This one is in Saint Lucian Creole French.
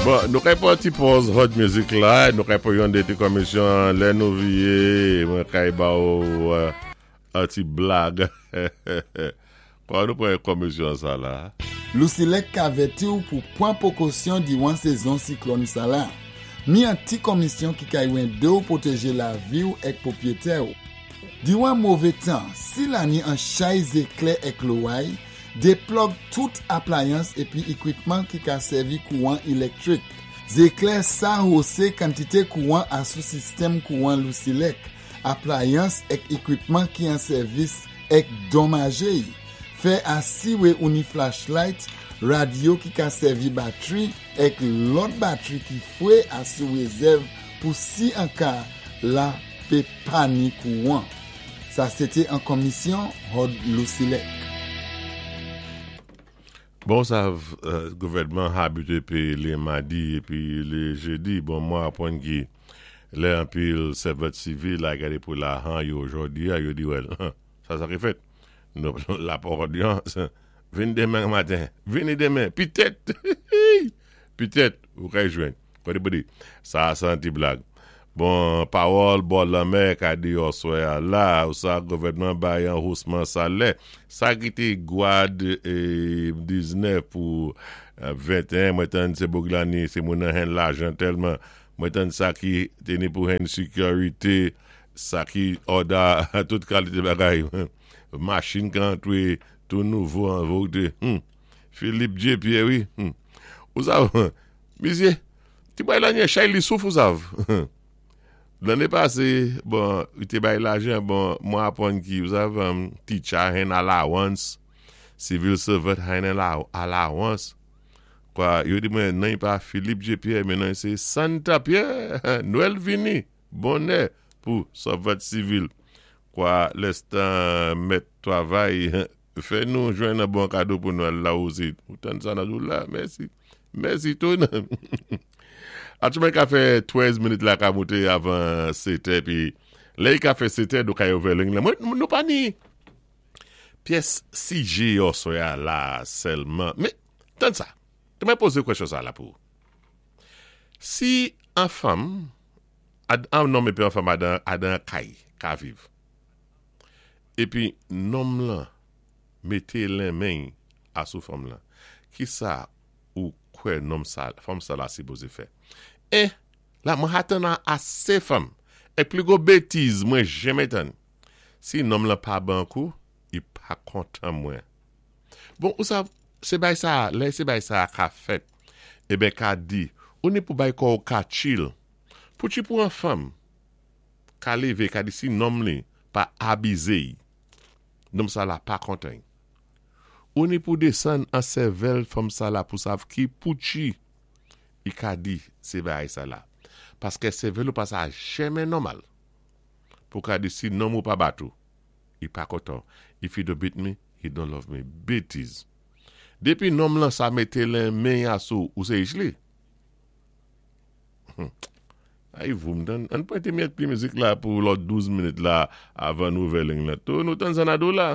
Bon, nou kay pwan ti pòz hot music la, nou kay pwan yon de ti komisyon lè nou viye, mwen kay ba ou an ti blag. Kwa nou pran komisyon sa la? Lousilèk ka vèti w pou pwan pwokosyon diwan sezon siklòn sa la. Mi an ti komisyon ki kay wende w pwoteje lavi w èk pwopyetè w. Diwan move tan, si lani an chay zeklè èk loway, Deplòg tout aplayans epi ekwipman ki ka sèvi kouwan ilèktrik. Zeklè sa hose kantite kouwan asou sistèm kouwan Lousilèk, aplayans èk ekwipman ki an sèvis èk donmaje y. Fè asiwe ou ni flashlight, radyo ki ka sèvi batri èk lòt batri ki fwe asou rezèv pou si an ka la pe pa ni kouwan. Sa se te an kòmisyon Hod Lousilèk. Bon sa gouvènman abitye peye le madi epi le jedi bon mwen aprann ki lè anpil sèvant sivil al gade pou lajan yo jodi a yo di wèl sa sa ki fèt nou la pòdyans vin demen maten vini demen pitèt pitèt ou kay jwenn. Kote pou di, sa a se an ti blag. Bon, pawòl bò lanmè ka di oswè a la, ou sa gouvènman bay an housman salè. Sa ki te gwad 19 pou 21, mwen tann se Boglani, se moun nan hen lajan tèlman. Mwen tann sa ki te ni pou hen sekirite, sa ki òda tout kalite bagay. Machin ka antre tou nouvo an vote. Hum! Philippe J. Pierre wi. Hum! Ou sa. Misye, ti bay la nye chay li souf ou sav. Lane pase, bon, li te bay lajan, bon, mwen aprann ki, ou sav, teacher hen allowance, civil servant hen allowance. Kwa, yo di mwen, nan yi pa Philippe J. Pierre, men nan yi se Santa Pierre, Nwèl vini, bonè pou servant civil. Kwa, lèstan mèt travay, Fè nou jwenn an bon kado pou Nwèl la osi. Ou tann sa nan jou la. Mèsi. Mèsi tou nan. Atchoumen ka fè 13 minit la ka moute avan 7 è pi lè i ka fè 7 è nou ka ouvè ling la. Mwen nou pa ni pyès sijè oswè a la sèlman. Men, tann sa. Te mwen poze kwèsyon sa la pou ou. Si an fanm, an nonm epi an fanm adan adan kay ka viv. Epi nonm lan mete lenmen y a sou fanm lan. Kisa ou kwè nonm sa, fanm sa la sipoze fè? 1, La mwen ha tann a ase fanm. Ek pli gwo betiz mwen jenmen tann. Si nonm lan pa ban kou, i pa kontan mwen. Bon, ou sav, se bay sa a, lè se bay sa a ka fèt, eben ka di, ou ni pou bay kò ou ka chill. Pou chi pou an fanm. Ka leve ka di si nonm li pa abize y nonm sa la pa kontan y. Ou ni pou desann an sèvèl fanm sa la pou sav ki poutchi y ka di se bagay sa la. Paskè sèvèl ou pa sa jèmen nòmal pou ka di si nonm ou pa bat ou y pa kontan w if you don't beat me you don't love me betiz. Depi nonm lan sa mete len men y a sou ou se ich li. Ay voum tann, ann pwente myèt pli mizik la pou lòt 12 minit la avan nou ouvè ling lan tou, nou tann Xanadu la.